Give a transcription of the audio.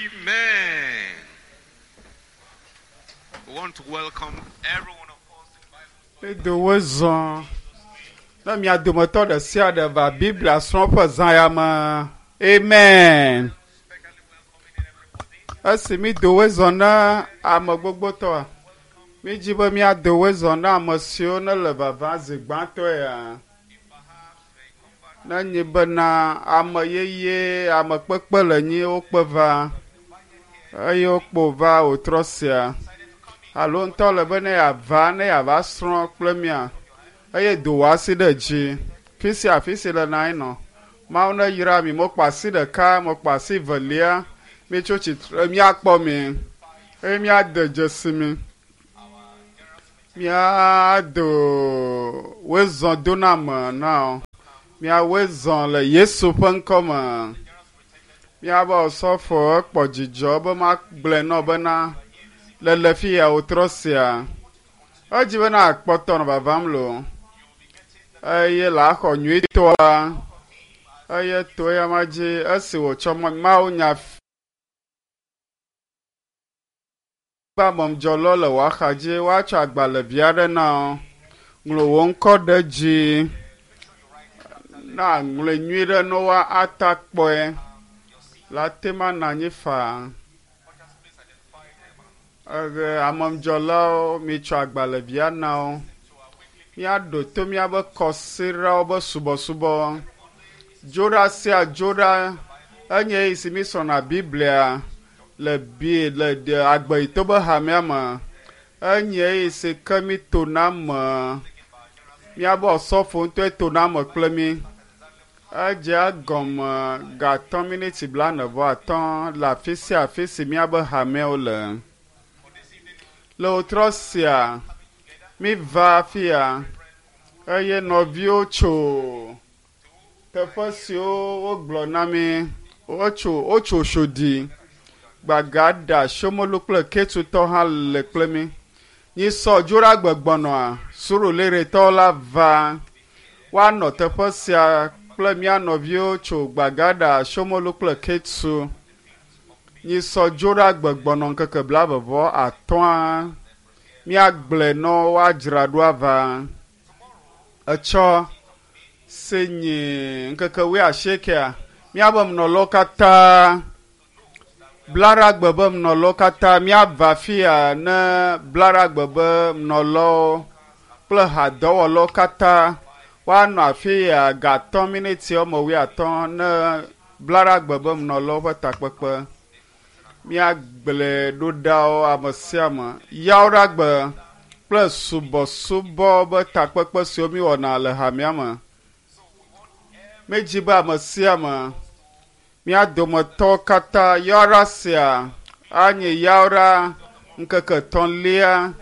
Amen. We want to welcome every one of us in Bible study. Edo wo zɔ ne mia dometɔ ɖe sia ɖe va Biblia srɔ̃ƒe zã ya me. Amen. Especially welcoming everybody. Esi mi do wo zɔ na ame gbogbotɔa, mi dzi be míado wo zɔ na ame siwo ne le vava zi gbãtɔe ya. If perhaps they come back Ne nyi bena ame yeye, ame kpekpe le nyi wokpe va eye wokpo va wòtrɔ sia. Alo ŋutɔ le be ne yeava ne yeava srɔ̃ kple mía eye do wò asi ɖe dzi. Fi sia afi si le na nɔ. Mawu ne yra mi. Mekpɔ asi ɖeka, mekpɔ asi velia. Mitso tsitre, míakpɔ mi eye míade dzesi mi. Míado woezɔ doname na wo. Míawoe zɔ le Yesu ƒe ŋkɔ me. Míabe osɔfo ekpɔ dzidzɔ be magblɔe nɔ bena le le fi ya wòtrɔ sia. Edzi bena akpɔtɔ nɔ vavam loo eye le axɔ nyuitɔa eye to eya ma dzi esi wòtsɔ Mawu nya ƒe amemdzɔlɔ le wò axa dzi woatsɔ agbalẽvi aɖe na wo. Ŋlɔ wò ŋkɔ ɖe dzi na ŋlɔe nyui ɖe ne woata kpɔe. La te ma nɔ anyi faa. ushers, please identify them Eɣe amemdzɔlawo mitsɔ agbalẽvia na wo. to our weekly Míaɖo to míabe kɔsiɖawo be subɔsubɔ. Dzoɖa sia dzoɖa enye eyi si mísrɔ̃na Biblia le bi le de agbeyito be hamea me. Enye eyi si ke mí tona me. Míabe osɔfo ŋutɔe tona me kple mí. Edze egɔme gatɔ̃ miniti blaene vɔ atɔ̃ le afi sia afi si míabe hameawo le. Le wòtrɔ sia, míva afia eye nɔviwo tso teƒe siwo wogblɔ na mí. Wotso wotso Sodi, Gbagada, Shomolu kple Ketutɔ hã le kple mí. Nyisɔ Dzoɖagbe gbɔnɔa, Suruliretɔwo la va. Woanɔ teƒe sia kple mía nɔviwo tso Gbagada, Shomolu kple Ketu. Nyisɔ Dzoɖagbe gbɔnɔ ŋkeke blaeve vɔ atɔ̃a. Míagblɔe nɔ woadzra ɖo ava. Etsɔ si nyi ŋkeke wuiasiekɛa, míabe menɔlawo katã Blaɖagbe be menɔlawo katã míava afia ne Blaɖagbe be menɔlawo kple hadɔwɔlawo katã woanɔ afi ya gatɔ̃ miniti woame wuiatɔ̃ ne Blaɖagbe be menɔlawo ƒe takpekpe. Míagblɔe ɖo ɖa wo ame sia ame. Yawoɖagbe kple subɔsubɔ be takpekpe siwo míwɔna le hamea me. Míedzi be ame sia ame mía dometɔwo katã yawoɖa sia anye yawoɖa ŋkeke etɔ̃lia.